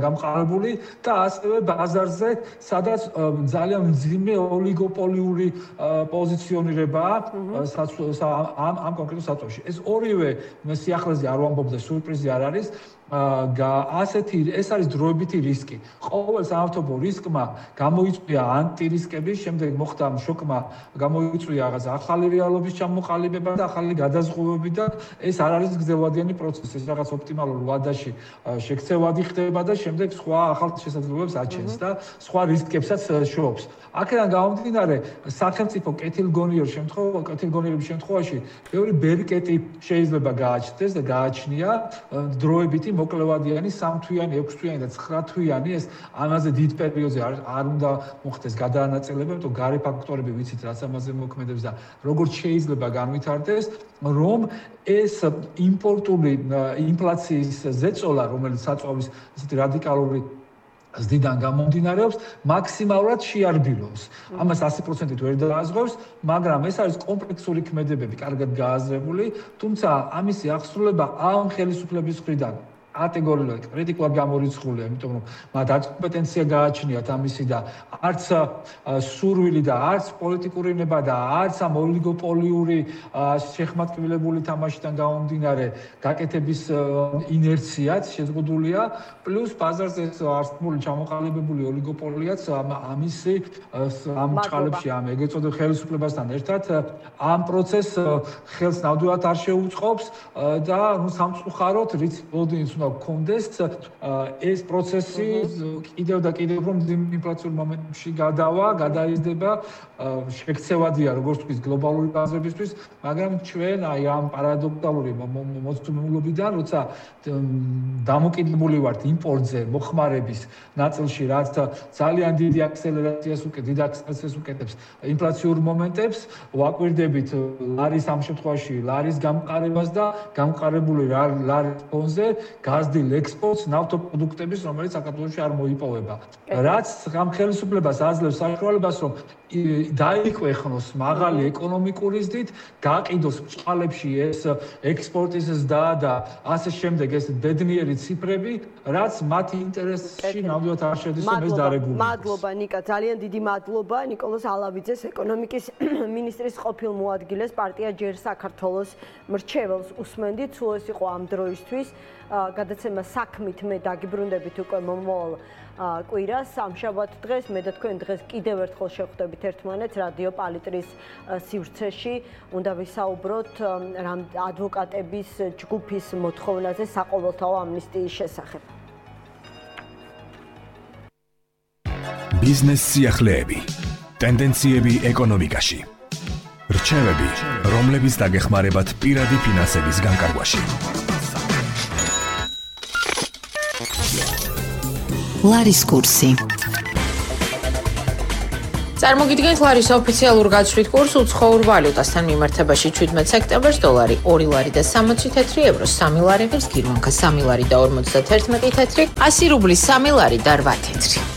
გამყარებული და ასევე ბაზარზე, სადაც ძალიან მძიმე ოლიგოპოლიური პოზიციონირებაა ამ კონკრეტულ საწოლში. ეს ორივე სიახლეზე არ ვამბობ და სურპრიზი არ არის. ეს არის დროებითი რისკი. ყოველ სამართობო რისკმა გამოიწვია ანტირისკები, შემდეგ მოხდა შოკმა გამოიწვია რაღაც ახალი რეალობის ჩამოყალიბება და ახალი გადაზღუდვები და ეს არ არის გრძელვადიანი პროცესი, ეს რაღაც ოპტიმალურ ვადაში შექცევადი ხდება და შემდეგ სხვა ახალ შესაძლებლობებს აჩენს და სხვა რისკებსაც შოობს. აქედან გამომდინარე, სახელმწიფო კეთილგონიერების შემთხვევაში ბევრი ბერკეტი შეიძლება გააჩნდეს და გააჩნია დროებითი მოკლევადიანი 3-თვიანი, 6-თვიანი და 9-თვიანი ეს ამაზე დიდ პერიოდზე არ უნდა მოხდეს გადაანაწილება, იმიტომ გარე ფაქტორები ვიცით რაც ამაზე მოქმედებს და როგორც შეიძლება განვითარდეს, რომ ეს იმპორტული ინფლაციის ზეწოლა, რომელიც საწვავის ესეთი რადიკალური ზდიდან გამომდინარეობს, მაქსიმალურად შეარბილოს. ამას 100%-ით ვერ დააზღვევს, მაგრამ ეს არის კომპლექსური ქმედებები, კარგად გააზრებული, თუმცა ამისი აღსრულება ამ ხელისუფლების მხრიდან კატეგორიულად კრიტიკულად გამორიცხულია, იმიტომ რომ მათ არც კომპეტენცია გააჩნიათ ამისი და არც სურვილი და არც პოლიტიკური ნება და არც ამ ოლიგოპოლიური შეხმატკივრებული თამაშიდან გამომდინარე გაკეთების ინერციაც შეზღუდულია, პლუს ბაზარზე არსებული ჩამოყალიბებული ოლიგოპოლიაც ამ ჭყალებში ამ ეგრეთ წოდებულ ხელისუფლებასთან ერთად ამ პროცესს ხელს ნამდვილად არ შეუწყობს და სამწუხაროდ რიც ოდენს კონდეს ეს პროცესი კიდევ და კიდევ რომ ინფლაციურ მომენტში გადაიზრდება, შექცევადია როგორც თქვის გლობალური ბაზრებისთვის, მაგრამ ჩვენ ამ პარადოქსალური მოწყობილობიდან, როცა დამოკიდებული ვართ იმპორტზე, მოხმარების ნაწილში, რაც ძალიან დიდი აქსელერაციას უკეთებს ინფლაციურ მომენტებს, ვაკვირდებით ლარის ამ შემთხვევაში ლარის გამყარებას და გამყარებული ლარის ფონზე გაზრდილ ექსპორტს ნავთობპროდუქტების, რომელიც საქართველოში არ მოიპოვება. რაც ამ ხელისუფლებას აძლევს საშუალებას, რომ დაიქვეხნოს მაღალი ეკონომიკური ზრდით, გაყიდოს ბჭყალებში ეს ექსპორტის ზრდა და ასე შემდეგ ეს ბედნიერი ციფრები, რაც მათი ინტერესში ნამდვილად არ შედის, რომ ეს დარეგულირდეს. მადლობა ნიკა, ძალიან დიდი მადლობა ნიკოლოზ ალავიძეს, ეკონომიკის მინისტრის ყოფილ მოადგილეს, პარტია ჯერ საქართველოს მრჩეველს უსმენდით, სულ ეს იყო ამ დროისთვის. გადაცემა საქმით მე დაგიბრუნდებით უკვე მომავალ კვირას, სამშაბათ დღეს, მე და თქვენ დღეს კიდევ ერთხელ შევხვდებით ერთმანეთს რადიო პალიტრის სივრცეში. უნდა ვისაუბროთ ადვოკატების ჯგუფის მოთხოვნაზე საყოველთაო ამნისტიის შესახებ. ბიზნეს სიახლეები, ტენდენციები ეკონომიკაში. რჩევები, რომლებიც დაგეხმარებათ პირადი ფინანსების განკარგვაში. ლარის კურსი. წარმოგიდგენთ ლარის ოფიციალურ გაცვლით კურსს უცხოურ ვალუტასთან მიმართებაში 17 სექტემბერს დოლარი 2 ლარი და 60 თეთრი, ევრო 3 ლარი, ღირს გირვანკა 3 ლარი და 51 თეთრი, 100 რუბლის 3 ლარი და 8 თეთრი.